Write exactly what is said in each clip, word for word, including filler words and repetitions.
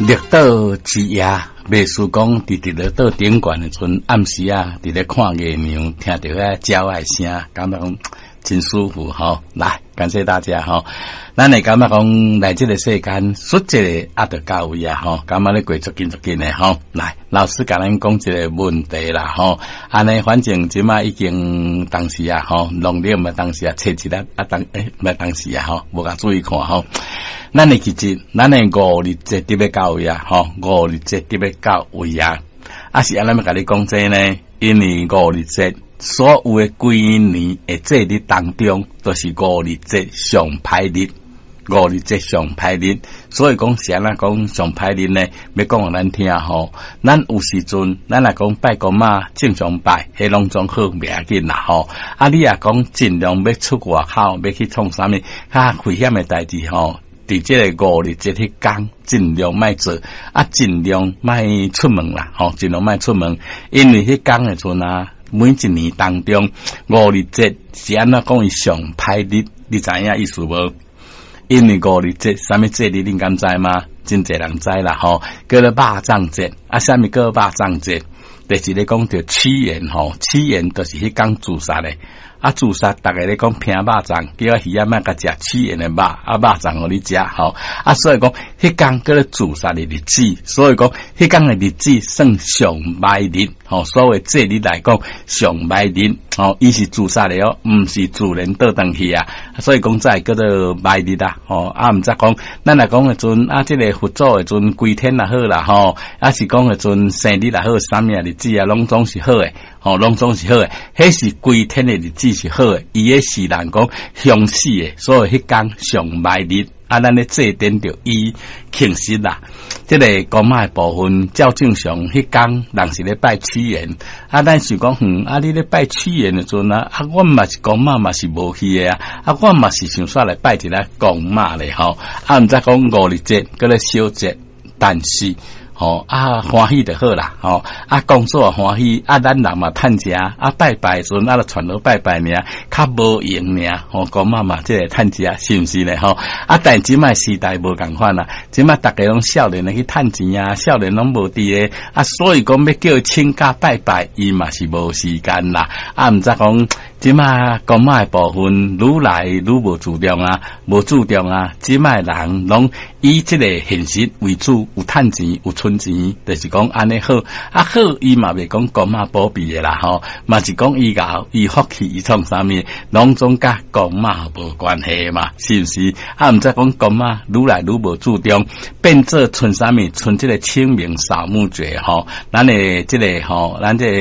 綠島之夜，袂輸講佇佇咧島頂懸的陣暗時啊，佇咧看月娘，聽著遐鳥仔聲，感覺講真舒服吼。來，感謝大家吼。咱會感覺講來這個世間，說一個啊，就到位啊吼，感覺咧過足緊足緊的吼。來，老師共咱講一個問題啦吼。按呢，反正這馬已經當時啊吼，農曆嘛當時啊，初一啊啊當欸，毋當時啊吼，無共注意看吼。咱會記得，咱的五日節特別到位啊，吼，五日節特別到位啊。啊是按怎欲共你講這呢？因為五日節所有的規年的節日當中，都是五日節上歹日，五日節上歹日。所以講是按怎講上歹日呢？欲講予咱聽吼。咱有時陣，咱若講拜公媽正常拜，彼攏總好袂要緊啦吼。啊，你若講盡量欲出外口，欲去創啥物較危險的代誌吼。佇這個五日節彼工，盡量莫做，啊，盡量莫出門啦，吼，盡量莫出門，因為彼工的陣啊，每一年當中，五日節是按怎講伊上歹日，你知影意思無？因為五日節啥物節日，恁敢知嗎？真濟人知啦，吼，叫做肉粽節，啊，啥物叫肉粽節？就是咧講著屈原吼，屈原就是彼工自殺的。啊，自殺，逐家咧講拼肉粽，叫魚仔莫共食屈原的肉，啊，肉粽予你食吼。啊，所以講，彼工叫做自殺的日子，所以講，彼工的日子算上歹日，吼。所謂節日來講，上歹日，吼，伊是自殺的哦，毋是自然倒轉去啊。所以講，才會叫做歹日啊，吼。啊，毋則講，咱若講的陣，啊，這個佛祖的陣歸天也好啦，吼，啊是講的陣生日也好，啥物日子啊，攏總是好的。吼，攏總是好的，彼是歸天的日子是好的，伊的是人講凶死的，所以彼工上歹日，啊，咱咧祭奠著伊慶實啦。這個公媽的部分照正常，彼工人是咧拜屈原，啊，咱想講，嗯，啊，你咧拜屈原的陣啊，啊，阮嘛是公媽嘛是無去的啊，啊，阮嘛是想煞來拜一下公媽咧吼，啊，毋知講五日節，閣咧小節，但是。吼啊，歡喜就好啦，吼啊，工作歡喜，啊，咱人嘛趁食，啊，拜拜時陣啊，就傳落拜拜爾，較無閒爾，吼，公媽嘛這個趁食，是毋是咧？吼啊，但這擺時代無仝款啦，這擺逐家攏少年的去趁錢啊，少年攏無佇个，啊，所以講欲叫伊請假拜拜，伊嘛是無時間啦，啊，毋知講這擺公媽的部分愈來愈無注重啊，無注重啊，這擺人攏以這個現實為主，有趁錢有存錢，就是講按呢好，啊好，伊嘛袂講公媽保庇的啦吼，嘛是講伊𠢕伊福氣伊創啥物，攏總佮公媽無關係嘛，是毋是？啊，毋知講公媽愈來愈無注重，變做賰啥物？賰這個清明掃墓節吼，咱的這個吼，咱這個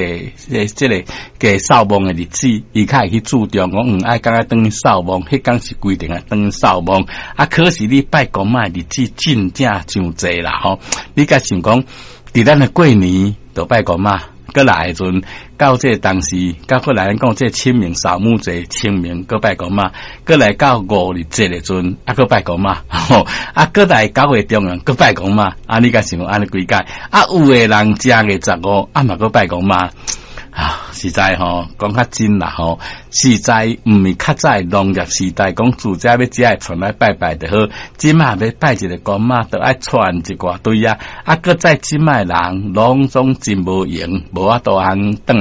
這這個給掃墓的日子，伊較會去注重講，嗯，愛敢愛轉去掃墓，彼工是規定愛轉去掃墓。啊，可是你拜公媽的日子真正傷濟啦吼，你敢想講，佇咱的過年就拜公媽，閣來的陣到這個當時，到閣來咱講這個清明掃墓節，清明閣拜公媽，閣來到五日節的陣，啊，閣拜公媽，吼，啊，閣來九月中旬閣拜公媽，啊，你敢想講按呢幾擺？啊，有的人正月十五，啊嘛閣拜公媽。啊，實在吼，講較真啦吼，實在毋是較早農業時代講自家欲食會傳來拜拜就好，這馬欲拜一個公媽，都愛傳一大堆啊，啊，閣再這馬人攏總真無閒，無法度通轉